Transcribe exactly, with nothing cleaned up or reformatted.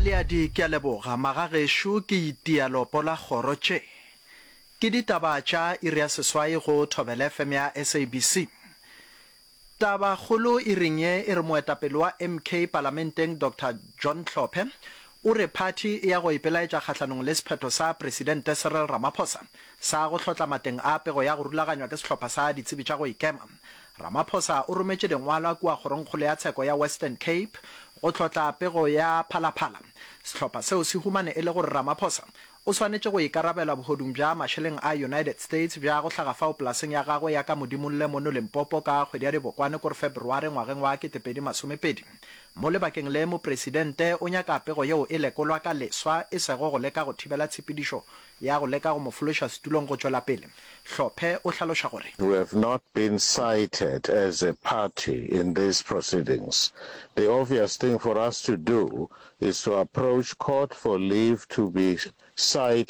Leadi Ke a leboga magagešo ke itia lopo la kgoro Tše ke ditaba tša iri ya seswai go Thobela F M ya S A B C Tabakgolo iring ye e re moetapele wa M K palamenteng Doctor John Hlophe o re phathi e ya go ipelaetša kgahlanong le sephetho sa Presidente Cyril Ramaphosa sa go hlotla mateng a pego ya go rulaganywa ke sehlopha sa ditsebi tša go ikema. Ramaphosa o rometše dingwalwa kua Kgorongkgolo ya Tsheko ya Western Cape go hlotla pego ya Phalaphala. Sehlopha seo se humane e le gore Ramaphosa o swanetše go ikarabela bohodung bja mašeleng a United States bja go hlaga fao polaseng ya gagwe ya ka Modimolle mono Limpopo ka kgwedi ya Dibokwane kore February ngwageng wa ketepedi masomepedi. Mo lebakeng le mopresidente o nyaka pego yeo e lekolwa ka leswa e sego go leka go thibela tshepedišo ya go leka go mo fološa setulong go tšwela pele. Hlophe o hlaloša gore. We have not been cited as a party in these proceedings. The obvious thing for us to do is to approach court for leave to be cited